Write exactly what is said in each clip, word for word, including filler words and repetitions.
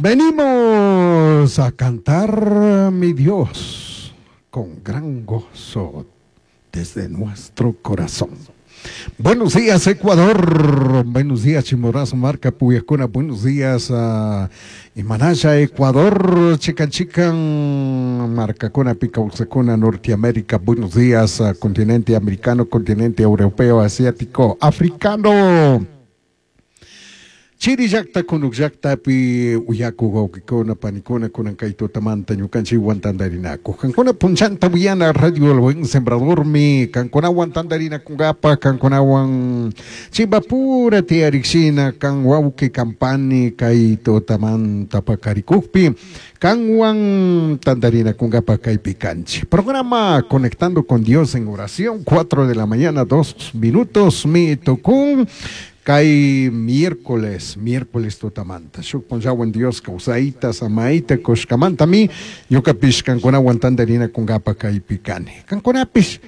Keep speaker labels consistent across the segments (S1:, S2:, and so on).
S1: Venimos a cantar, mi Dios, con gran gozo desde nuestro corazón. Buenos días, Ecuador. Buenos días, Chimborazo, Marca, Puyacuna. Buenos días, uh, Imanaya, Ecuador. Chican, chican, Marcacuna, Picauxacuna, Norteamérica. Buenos días, uh, continente americano, continente europeo, asiático, africano. Chiri llakta kunuk llaktapi uyaku wawkikuna panikuna kunan kay tutamanta ñukanchikwan tantarinakuj kankuna punchanta uyana Radio El Buen Sembradormi kankunawan tantarinakunkapa kankunawan chimpapura tiyarikshina kan wawki kan pani kay tutamanta pakarikukpi kanwan tantarinakunkapa kaypi kanchik programa Conectando con Dios en oración cuatro de la mañana dos minutos mi tukun kay miércoles, miércoles tutamanta. Shuk punllawan Dios kawsayta, samaita, kushkamantami, ñukapish kankunawan tantarinakunkapa kaypi kani. Kankunapish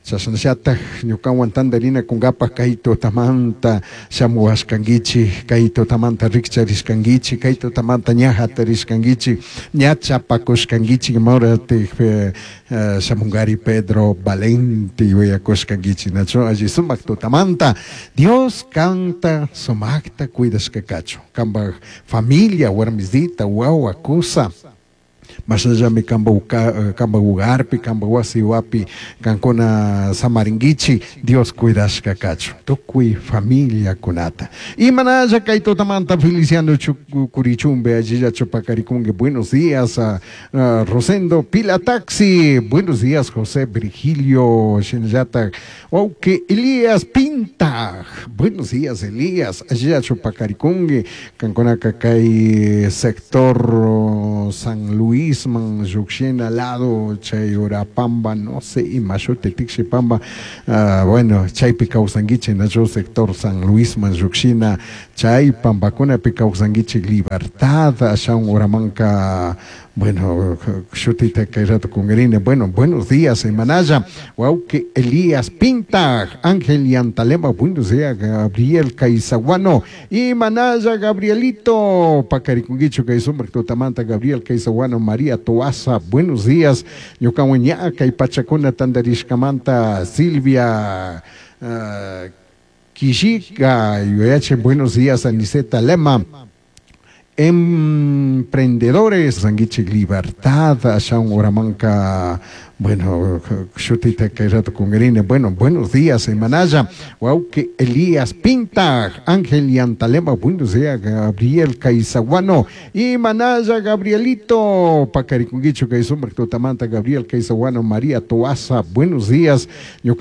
S1: chashnallataj ñukawan tantarinakunkapa kay tutamanta shamuwashkankichik, kay tutamanta rikcharishkankichik, kay tutamanta ña hatarishkankichik, ña chapakushkankichik, imawratik eh, shamunkari Pedro Valente yuyakushkankichik, nachu alli sumak tutamanta. Dios kanta sumakta cuidashka kachun, kanpak familia, warmisita, wawa, kusa, mashnallami kanpa kanpa hogarpi, kanpa wasi wapi kankuna samarinkichik, Dios cuidashka kachun, tukuy familiakunata. Imanalla kay tutamanta Feliciano Curichumbe, allillachu pakarikunki, buenos días, uh, uh, Rosendo Pila Taxi, buenos días, José Virgilio shinallatak, wawki Elías Pinta, buenos días, Elías, allillachu pakarikunki, kankunaka kay sector San Luis man llukshina lado chay Urapamba, no sé, imashuti Tikshipamba, uh, bueno, chaypi kawsankichik nachu sector San Luis man llukshina chay pampakunapi kawsankichik Libertad, ashawan uramanka, bueno, shutita kay rato kunkarini, bueno, buenos días, imanalla, wawki Elías Pinta, Ángel Yantalema, buenos días, Gabriel Caizaguano, imanalla, Gabrielito, pakarikunkichu kay sumak tutamanta, Gabriel Caizaguano, María Toaza, buenos días, ñukawan ña kay pachakuna tantarishkamanta, Silvia, uh, Quillica, yuyache, buenos días, Aniceta Lema, emprendedores, Sanguichik Libertad, ashawan uramanka, bueno, shutita kay rato kunkarini, bueno, buenos días, imanalla, wawki Elías Pinta, Ángel Yantalema, buenos días, Gabriel Caizaguano, imanalla, Gabrielito, pakarikunkichu kay sumak tutamanta, Gabriel Caizaguano, María Toaza, buenos días, ñuka